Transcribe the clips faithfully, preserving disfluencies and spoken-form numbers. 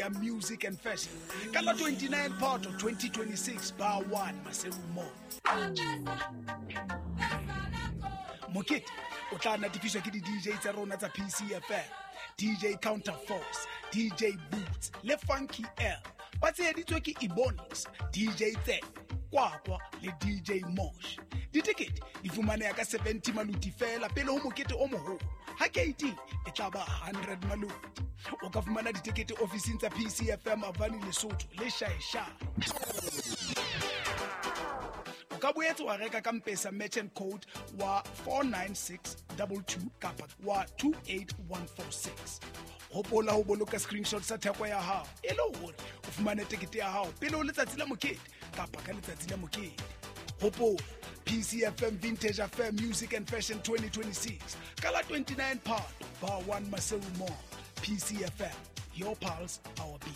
Music and Fashion ka la twenty-nine Phato twenty twenty-six bar one Maseru Mall. Mokete o tla natefiswa ke di D J tsa rona tsa P C F M, D J Counterforce, D J Boots le Funky L. Ba tsheheditswe ke Ebonics, D J Tse, Kwakwa le D J Mosh. Ditekete di fumaneha ka seventy maluti fela pele ho mokete o moholo. Ha K T e tla ba hundred maluti. O ka fumana ditekete ofising tsa P C F M Avani Lesotho le Shaesha. O ka boetse wa reka ka M-Pesa merchant code wa four nine six two two kapa wa two eight one four six. Hopola ho boloka screenshot sa theko ya hao e le hore o fumane tekete ya hao pele ho letsatsi la mokete kapa ka letsatsi la mokete. Hopola P C F M Vintage Affair Music and Fashion twenty twenty-six. Kala twenty-nine Phato, Bar one Maseru Mall. P C F M, your pulse, our beat.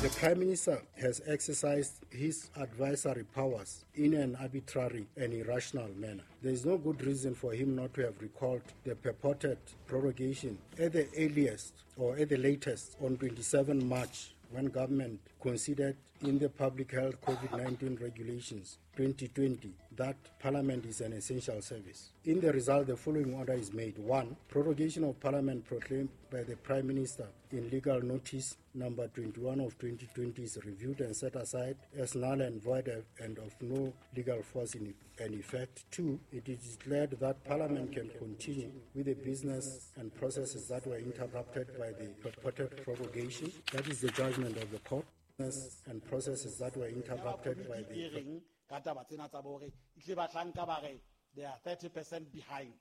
The Prime Minister has exercised his advisory powers in an arbitrary and irrational manner. There is no good reason for him not to have recalled the purported prorogation at the earliest or at the latest on twenty-seventh March, when government considered in the Public Health COVID nineteen Regulations twenty twenty that Parliament is an essential service. In the result, the following order is made. One, prorogation of Parliament proclaimed by the Prime Minister in legal notice number twenty-one of twenty twenty is reviewed and set aside as null and void and of no legal force in and effect. Two, it is declared that Parliament can continue with the business and processes that were interrupted by the purported prorogation. That is the judgment of the court. And processes that were interrupted by the ka taba tsena tsa bore itle batlanka ba re they are thirty percent behind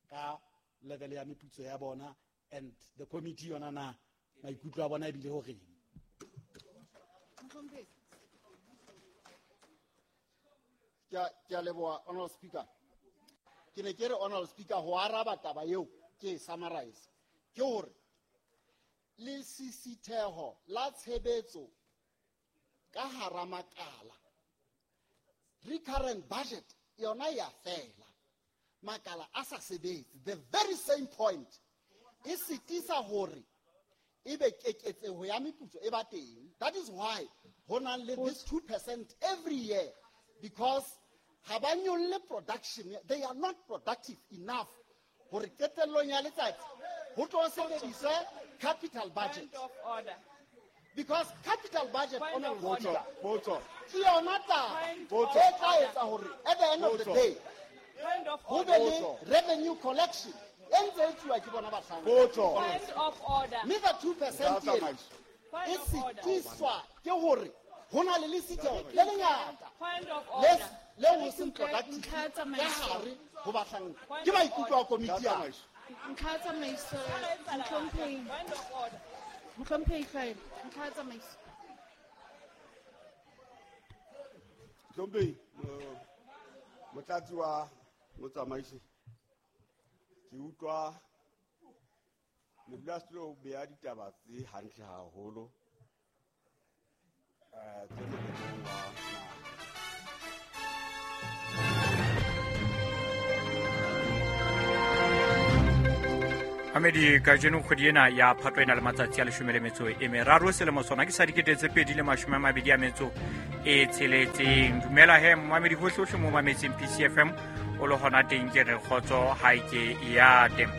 ka level ya meputso ya bona and the committee yona na maikutlo a bona ebile ho reng. Ke ke a leboha Honorable Speaker. Ke ne ke re Honorable Speaker ho araba taba eo ke summarize ke hore le sisitheho la tshebetso ka hara makala recurrent budget yona ya fela makala a sa sebetse. The very same point e sitisa hore ebe keketseho ya meputso e ba teng. That is why ho na le this two percent every year, because ha ba nyolle production, they are not productive enough hore qetellong ya letsatsi ho tlo sebediswe capital budget. Point of order. Because capital budget Point on of order. Ke yona taba e tla etsa hore at the end of the day ho be le revenue collection e ntse e tsuwa ke bona bahlanka. Point of order. Mme the two percent e sitiswa ke hore ho na le lesitho le lengata le ho seng productive ka hare ho bahlanka. Ke maikutlo a komiti ya Ntlha ya tsamaiso, Mohlomphehi. Mohlomphehi Hlwaelo, ntlha ya tsamaiso. Mohlomphehi, motlatsi wa motsamaisi, ke utlwa modulasetulo o beha ditaba tse hantle haholo eh tse molemong wa naha. Mamedi kajeno kgwedi ena ya Phato ena le matsatsi a leshome le metso e meraro selemo sona ke sa dikete tse pedi le mashome a mabedi a metso e tsheletseng. Dumela he mamedi hohle hohle mo mametseng P C F M o le hona teng ke re kgotso ha ke ya teng.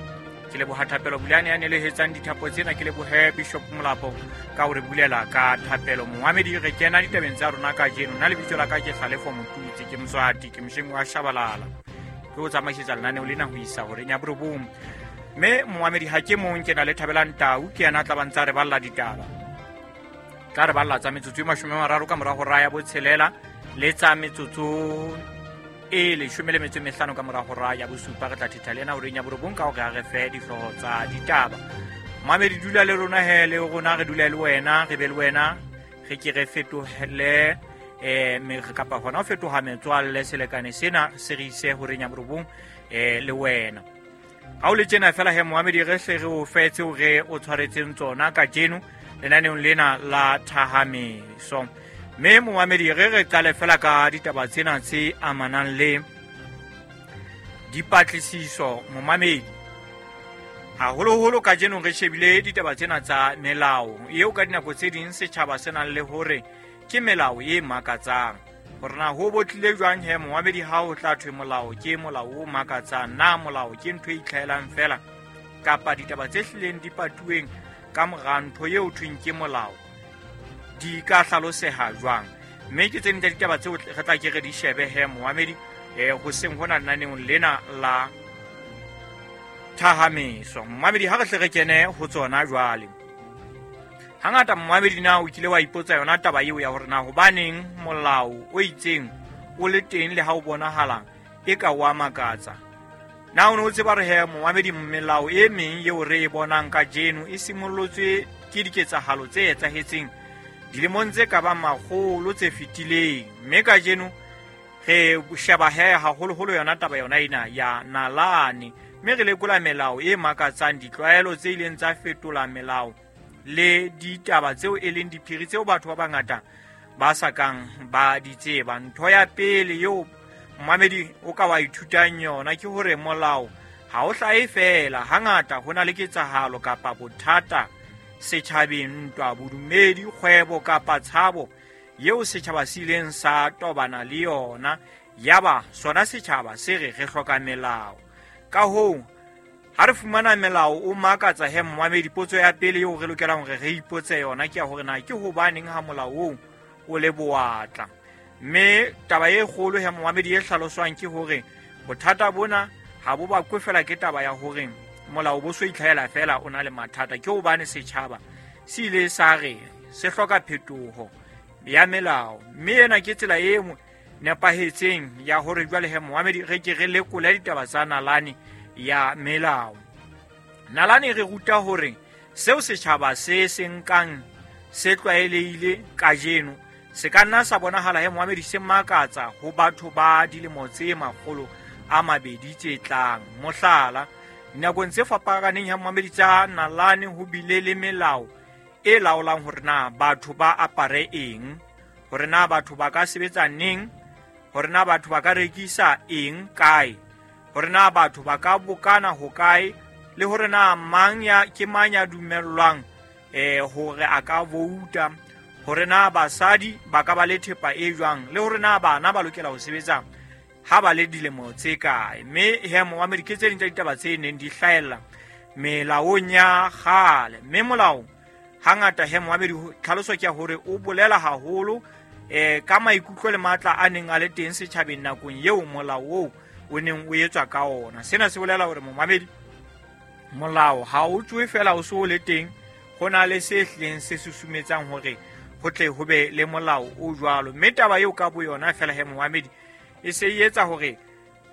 Ke leboha Thapelo Bulane ya nelehetsang dithapo tsena, ke lebohe Bishop Molapo ka hore bulela ka thapelo. Momamedi re kena ditabeng tsa rona kajeno. Nna lebitso la ka ke Hlalefo Motutsi, ke Mswati, ke mosheng wa Shabalala. Ke o tsamaisetsa lenaneo lena ho isa horeng ya borobong. Mme momamedi ha ke mong, ke na le Thabelang Tau, ke yena a tla ba ntsa re balla ditaba. Tla re balla tsa metsotso e mashome a mararo ka mora hora ya botshelela le tsa metsotso e leshome le metso e mehlano ka mora hora ya bosupa. Re tla thetha le yena horeng ya borobong ka hore a re fe dihlooho tsa ditaba. Momamedi dula le rona he, le rona re dula le wena, re be le wena, re ke re fetohele eh me re kapa hona ho fetoha metswalle selekane sena se re ise horeng ya borobong eh le wena. Ha o le tjena fela he momamedi re hle re o fetse hore o tshwaretseng tsona kajeno lenaneong lena la Thahameso. Mme momamedi re re qale fela ka ditaba tsena tse amanang le dipatlisiso momamedi. Haholoholo kajeno re shebile ditaba tsena tsa melao eo ka dinako tse ding setjhaba se nang le hore ke melao e makatsang. Hore na ho botlile jwang he momamedi ha ho tla thwe molao ke molao o makatsang, na molao ke ntho e itlhahelang fela kapa ditaba tse hlileng di patuweng ka mora ntho eo thweng ke molao di ka hlaloseha jwang. Mme ke tse ding tsa ditaba tseo re tla ke re di shebe he momamedi eh hoseng hona lenaneong lena la Thahameso. Momamedi ha re hle re kene ho tsona jwale. Hangata momamedi na o kile wa ipotsa yona taba eo ya hore na hobaneng molao o itseng o le teng le ha o bonahala e ka wa makatsa. Na o ne o tseba re he momamedi melao e meng eo re e bonang kajeno e simollotswe ke diketsahalo tse etsahetseng dilemong tse ka bang makgolo tse fetileng, mme kajeno re sheba he haholoholo yona taba yona ena ya nalane, mme re lekola melao e makatsang, ditlwaelo tse ileng tsa fetola melao le ditaba tseo e leng diphiri tseo batho ba bangata ba sa kang ba di tseba. Ntho ya pele eo momamedi o ka wa ithutang yona ke hore molao ha o hlahe fela, hangata ho na le ketsahalo kapa bothata setjhabeng, ntwa, bodumedi, kgwebo kapa tshabo eo setjhaba se ileng sa tobana le yona, yaba sona setjhaba se re re hloka melao. Ka hoo ha re fumana melao o makatsa he momamedi, potso ya pele eo re lokelang hore re ipotse yona ke ya hore na ke hobaneng ha molao oo o le bowatla. Mme taba e kgolo he momamedi e hlaloswang ke hore bothata bona ha bo bakwe fela ke taba ya hore molao bo so itlhahela fela o na le mathata, ke hobane setjhaba se ile sa re se hloka phetoho ya melao. Mme ena ke tsela e nepahetseng ya hore jwale he momamedi re ke re lekole ditaba tsa nalane ya melao. Nalane re ruta hore seo setjhaba se se nkang se tlwaelehile kajeno se ka nna sa bonahala he momamedi se makatsa ho batho ba dilemo tse makgolo a mabedi tse tlang. Mohlala, dinakong tse fapakaneng ya momamedi tsa nalane ho bile le melao e laolang hore na batho ba apare eng, hore na batho ba ka sebetsa neng, hore na batho ba ka rekisa eng kae, hore na batho ba ka bokana hokae, le hore na mang ya ke mang ya dumellwang eh hore a ka vouta, hore na basadi ba ka ba le thepa e jwang, le hore na bana ba lokela ho sebetsa ha ba le dilemo tse kae. Mme he momamedi ke tse ding tsa ditaba tse neng di hlahella melaong ya kgale. Mme molao hangata he momamedi tlhaloso ke ya hore o bolela haholo eh ka maikutlo le matla a neng a le teng setjhabeng nakong eo molao oo o neng o etswa ka ona. Sena se bolela hore momamedi molao ha o tswe fela o so o le teng, ho na le se hlileng se susumetsang hore ho tle ho be le molao o jwalo. Mme taba eo ka boyona fela he momamedi e se e etsa hore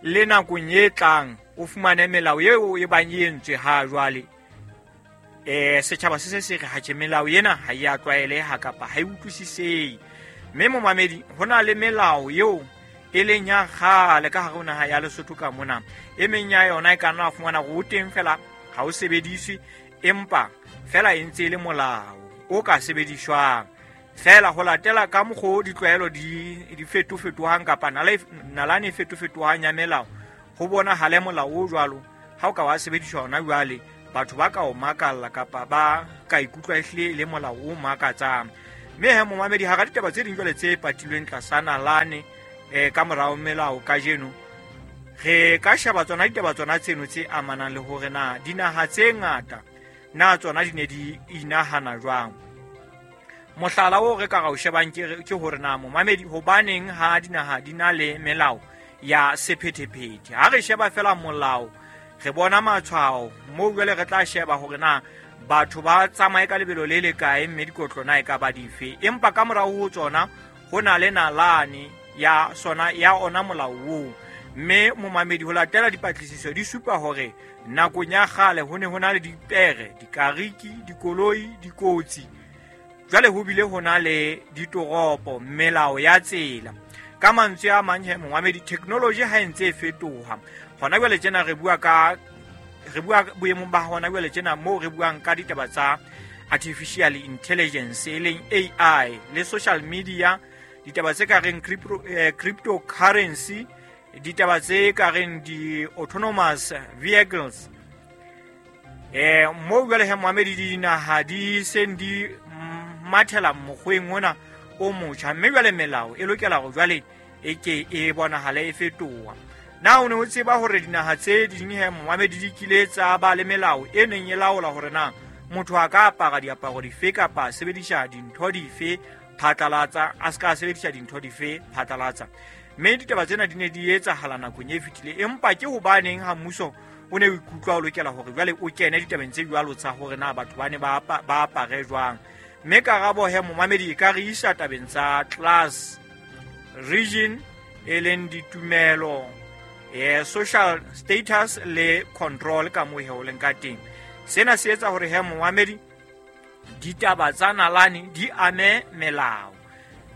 le nakong e tlang o fumane melao eo e bang e entswe ha jwale eh setjhaba se se se re ha tjhe melao ena ha e a tlwaeleha kapa ha e utlwisisehe. Mme momamedi ho na le melao eo e leng ya kgale ka hare ho naha ya Lesotho ka mona. E meng ya yona e ka nna fumana hore o teng fela ha o sebediswe, empa fela e ntse e le molao o ka sebediswang fela ho latela ka mokgwa ditlwaelo di di fetofetohang kapa nalane e fetofetohang ya melao. Ho bonahale molao o jwalo ha o ka wa sebediswa hona jwale, batho ba ka o makalla kapa ba ka ikutlwa ehlile le molao o makatsang. Mme he momamedi hara ditaba tse ding jwale tse patilweng tlasa nalane eh ka morao melao kajeno, re ka sheba tsona ditaba tsona tseno tse amanang le hore na dinaha tse ngata na tsona di ne di inahana jwang. Mohlala o re ka ra o shebang ke ke hore na momamedi hobaneng ha dinaha di na le melao ya sephethephethe. Ha re sheba fela molao re bona matshwao moo jwale re tla sheba hore na batho ba tsamaye ka lebelo le le kae mme dikotlo na e ka ba dife, empa ka morao ho tsona ho na le nalane ya sona ya ona molao oo. Mme momamedi ho latela dipatlisiso di supa hore nakong ya kgale ho ne ho na le dipere, dikariki, dikoloi, dikotsi. Jwale ho bile ho na le ditoropo, melao ya tsela. Ka mantswe a mang he momamedi, technology ha e ntse e fetoha. Hona jwale tjena re bua ka re bua boemong ba hona jwale tjena moo re buang ka ditaba tsa artificial intelligence e leng A I le social media, ditaba tse ka reng crypto, eh, cryptocurrency, ditaba tse ka reng di-autonomous vehicles. Eh mo jwale he momamedi dinaha di seng di mathela mokgweng ona o motjha, mme jwale melao e lokela hore jwale e ke e bonahale e fetoha. Na o ne o tseba hore dinaha tse ding he momamedi di kile tsa ba le melao e neng e laola hore na motho a ka apara diaparo dife kapa a sebedisa dintho dife phatlalatsa, a ska sebedisa dintho dife phatlalatsa. Mme ditaba tsena di ne di etsahala nakong e fetileng, empa ke hobaneng ha mmuso o ne o ikutlwa o lokela hore jwale o kene ditabeng tse jwalo tsa hore na batho ba ne ba ba apare jwang. Mme karabo he momamedi e ka re isa tabeng tsa class, region, e leng ditumelo, eh social status le control ka moo he o leng ka teng. Sena se etsa hore he momamedi ditaba tsa nalane di ame melao.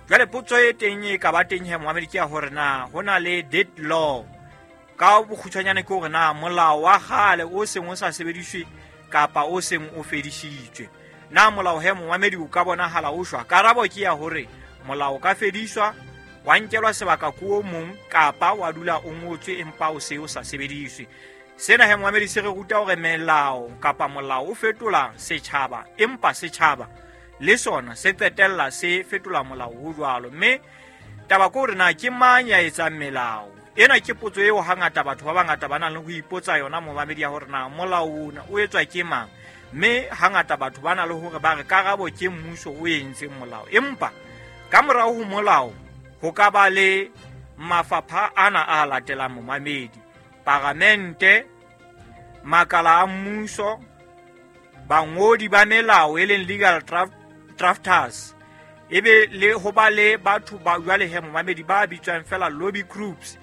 Jwale potso e teng e ka ba teng he momamedi ke ya hore na ho na le dead law. Ka bokgutshwanyane ke hore na molao wa kgale o seng o sa sebediswe kapa o seng o fedisitswe. Na molao he momamedi o ka bonahala o shwa? Karabo ke ya hore molao o ka fediswa, wa nkelwa sebaka ko o mong kapa wa dula o ngotswe empa o se o sa sebediswe. Sena he momamedi se re ruta hore melao kapa molao o fetola setjhaba, empa setjhaba le sona se qetella se fetola molao o jwalo. Mme taba ke hore na ke mang ya etsang melao? Ena ke potso eo hangata batho ba bangata ba nang le ho ipotsa yona momamedi ya hore na molao ona o etswa ke mang. Mme hangata batho ba na le hore ba re karabo ke mmuso o entseng molao, empa ka morao ho molao ho ka ba le mafapha ana a latelang momamedi: paramente, makala a mmuso, bangodi ba melao e leng legal draft, drafters, ebe le ho ba le batho ba jwale he momamedi ba bitswang fela lobby groups,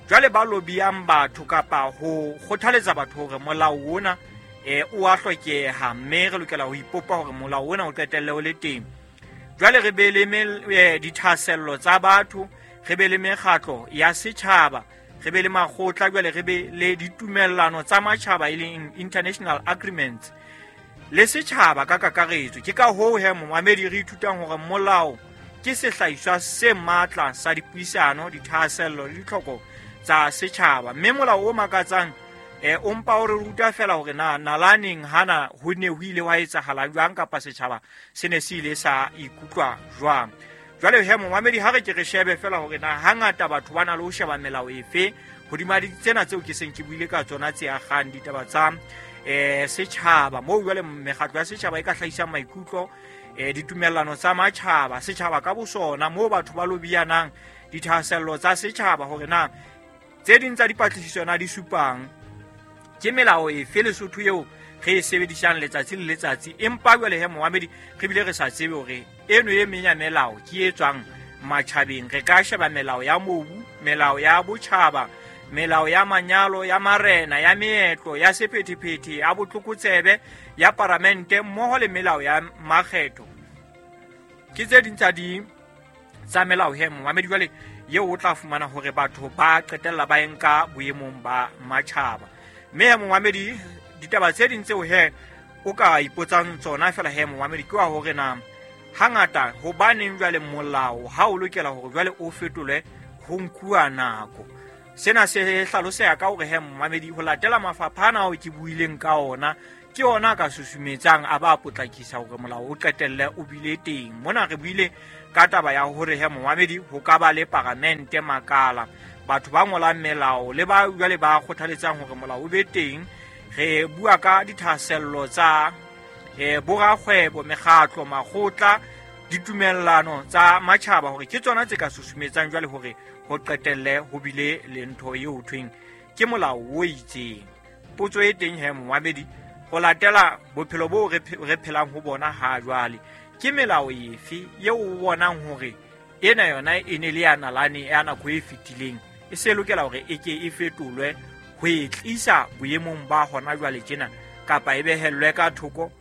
jwale ba lobbyang batho kapa ho kgothaletsa batho hore molao ona eh o a hlokeha, mme re lokela ho ipopa hore molao ona o qetelle o le teng. Jwale re be le eh, dithahasello tsa batho, re be le mekgatlo ya setjhaba, re be le makgotla, jwale re be le ditumellano tsa matjhaba e leng international agreements le setjhaba ka kakaretso. Ke ka hoo he momamedi re ithutang hore molao ke sehlahiswa se matla sa dipuisano, dithahasello le ditlhoko tsa setjhaba. Mme molao o makatsang eh o mpa o re ruta fela hore na nalaneng hana ho ne ho ile wa etsahala jwang kapa setjhaba se ne se ile sa ikutlwa jwang. Jwale he momamedi ha re ke re shebe fela hore na hangata batho ba na le ho sheba melao efe hodima tsena tseo ke seng ke buile ka tsona tse akgang ditaba tsa eh setjhaba, moo jwale mekgatlo ya setjhaba e ka hlahisang maikutlo, eh ditumellano tsa matjhaba, setjhaba ka bosona moo batho ba lobiyanang, dithahasello tsa setjhaba hore na tse ding tsa dipatlisiso na di supang ke melao efe Lesotho eo re e sebedisang letsatsi le letsatsi, empa jwale he momamedi re bile re sa tsebe hore eno e meng ya melao ke e tswang matjhabeng. Re ka sheba melao ya mobu, melao ya botjhaba, melao ya manyalo, ya marena, ya meetlo, ya sephethephethe, ya botlokotsebe, ya paramente mmoho le melao ya makgetho. Ke tse ding tsa di tsa melao he momamedi jwale eo o tla fumana hore batho ba qetella ba enka boemong ba matjhaba. Mme he momamedi ditaba tse ding tseo he o ka ipotsang tsona fela he momamedi ke wa hore na hangata hobaneng jwale molao ha o lokela hore jwale o fetolwe ho nkuwa nako. Sena se hlaloseha ka hore he momamedi ho latela mafapha ana ao ke buileng ka ona ke ona ka susumetsang a ba potlakisa hore molao o qetelle o bile teng. Mona re buile ka taba ya hore he momamedi ho ka ba le paramente, makala, batho ba ngolang melao le ba jwale ba kgothaletsang hore molao o be teng. Re bua ka dithahasello tsa eh borakgwebo, mekgatlo, makgotla, ditumellano tsa matjhaba hore ke tsona tse ka susumetsang jwale hore ho qetelle ho bile le ntho eo ho thweng ke molao o itseng. Potso e teng he momamedi ho latela bophelo bo re phelang ho bona ha jwale, ke melao efe eo o bonang hore ena yona e ne le ya nalane ya nako e fetileng e se lokela hore e ke e fetolwe ho e tlisa boemong ba hona jwale tjena, kapa e behellwe ka thoko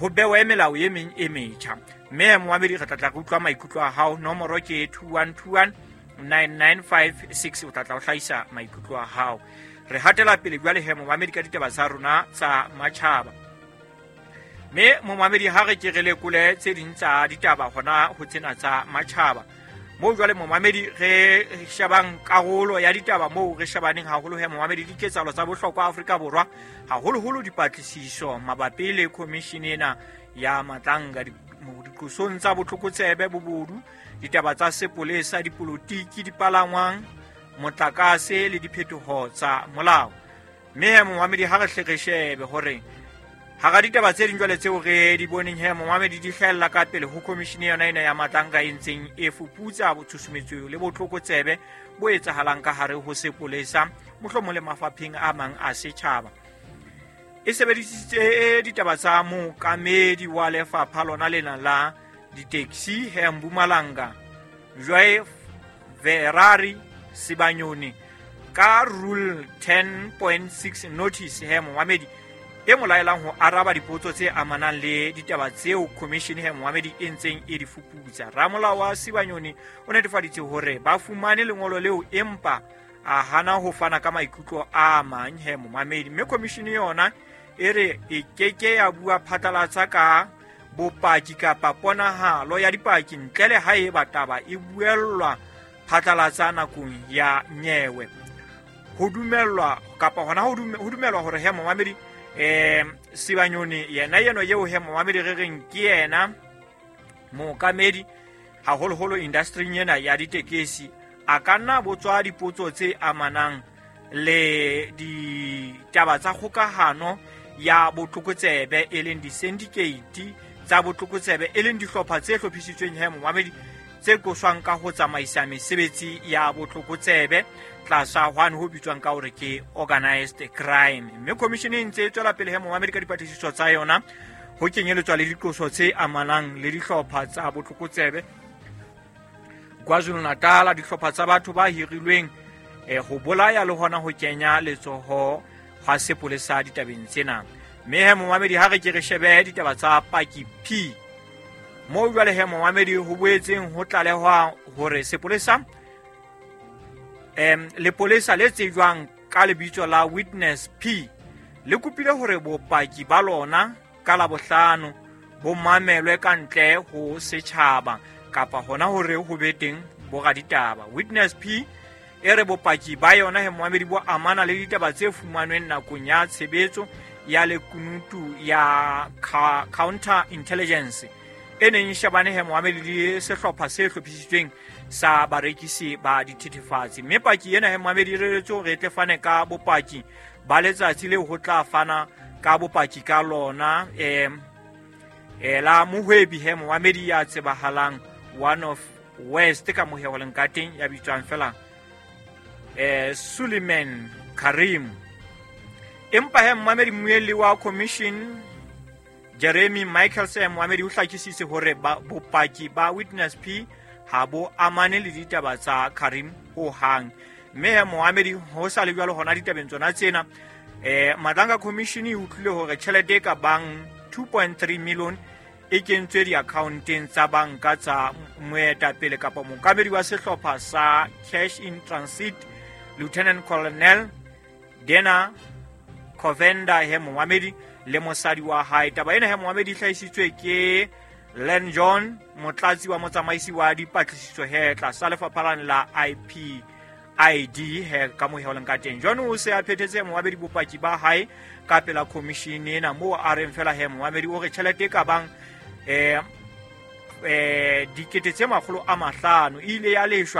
ho bewe melao e meng e metjha. Mme momamedi re tla tla re utlwa maikutlo a hao. Nomoro ke two one two one nine nine five six, o tla tla o hlahisa maikutlo a hao. Re hatela pele jwale he momamedi ka ditaba tsa rona tsa matjhaba. Mme momamedi ha re ke re lekole tse ding tsa ditaba hona ho tsena tsa matjhaba. Moo jwale momamedi re shebang karolo ya ditaba moo re shebaneng haholo he momamedi diketsahalo tsa bohlokwa Afrika Borwa, haholoholo dipatlisiso mabapi le commission ena ya Madlanga, diqosong tsa botlokotsebe, bobodu, ditaba tsa sepolesa, dipolotiki, dipalangwang, motlakase le diphetoho tsa molao. Mme he momamedi ha re hle re shebe hore hara ditaba tse ding jwale tseo re di boneng he momamedi di hlahella ka pele ho commission yona ena ya Madlanga e ntseng e fuputsa botshusumetso le botlokotsebe bo etsahalang ka hare ho sepolesa, mohlomong le mafapheng a mang a setjhaba. E sebedisitse ditaba tsa mookamedi wa lefapha lona lena la di-taxi he Mpumalanga, Joy Ferrari Sibanyoni, ka Rule ten point six notice he momamedi e mo laelang ho araba dipotso tse amanang le ditaba tseo commission he momamedi e ntseng e di fuputsa. Ramolao wa Sibanyoni o netefaditse hore ba fumane lengolo leo, empa a hana ho fana ka maikutlo a mang he momamedi. Mme commission yona e re e keke ya bua phatlalatsa ka bopaki kapa ponahalo ya dipaki ntle le haeba taba e buellwa phatlalatsa nakong ya nyewe. Ho dumellwa kapa hona ho dumelwa hore he momamedi eh Sibanyoni yena yeno yeo he momamedi re reng ke yena mookamedi haholoholo industry ena ya ditekesi, a ka nna botswa dipotso tse amanang le ditaba tsa kgokahano ya botlokotsebe, e leng di-syndicate tsa botlokotsebe, e leng dihlopha tse hlophisitsweng he momamedi tse qoswang ka ho tsamaisa mesebetsi ya botlokotsebe tlasa hwane ho bitswang ka hore ke organized crime. Mme commission e ntse e tswela pele he momamedi ka dipatlisiso tsa yona, ho kenyeletswa le diqoso tse amanang le dihlopha tsa botlokotsebe KwaZulu-Natal, dihlopha tsa batho ba hirilweng eh, ho bolaya le hona ho kenya letsoho hwa sepolesa ditabeng tsena. Mme he momamedi ha re ke re shebe ditaba tsa Paki P, moo jwale he momamedi ho boetseng ho tlalehwa hore sepolesa em lepolesa le tsejwang ka lebitso la Witness P le kopile hore bopaki ba lona ka Labohlano bo mamelwe ka ntle ho setjhaba kapa hona hore ho be teng boraditaba. Witness P e re bopaki ba yona he momamedi bo amana le ditaba tse fumanweng nakong ya tshebetso ya lekunutu ya counter intelligence e neng e shebane he momamedi le sehlopha se hlophisitsweng sa barekisi ba dithethefatsi. Mme paki ena he momamedi e reretswe hore e tle fane ka bopaki ba letsatsi leo ho tla fana ka bopaki ka lona em eh, la mohwebi he momamedi ya tsebahalang one of West ka moheho ka teng ya bitswang fela eh Suleiman Karim. Empa he momamedi mmuelli wa commission Jeremy Michaelson momamedi o hlakisitse hore bopaki ba Witness P ha bo amane le ditaba tsa Karim ho hang. Mme he momamedi ho sa le jwalo hona ditabeng tsona tsena eh Madlanga Commission e utlwile hore tjhelete e ka bang two point three million e kentswe di-accounteng tsa banka tsa moetapele kapa mookamedi wa sehlopha sa Cash in Transit Lieutenant Colonel Dena Covenda he momamedi le mosadi wa hae. Taba ena he momamedi e hlahisitswe ke Len John, motlatsi wa motsamaisi wa dipatlisiso he tlasa lefapha la I P I D he ka moheho leng ka teng. John o se a phethetse momamedi bopaki ba hae ka pela commission ena moo a reng fela he momamedi o re tjhelete e ka bang eh eh dikete tse makgolo a mahlano e ile ya leshwa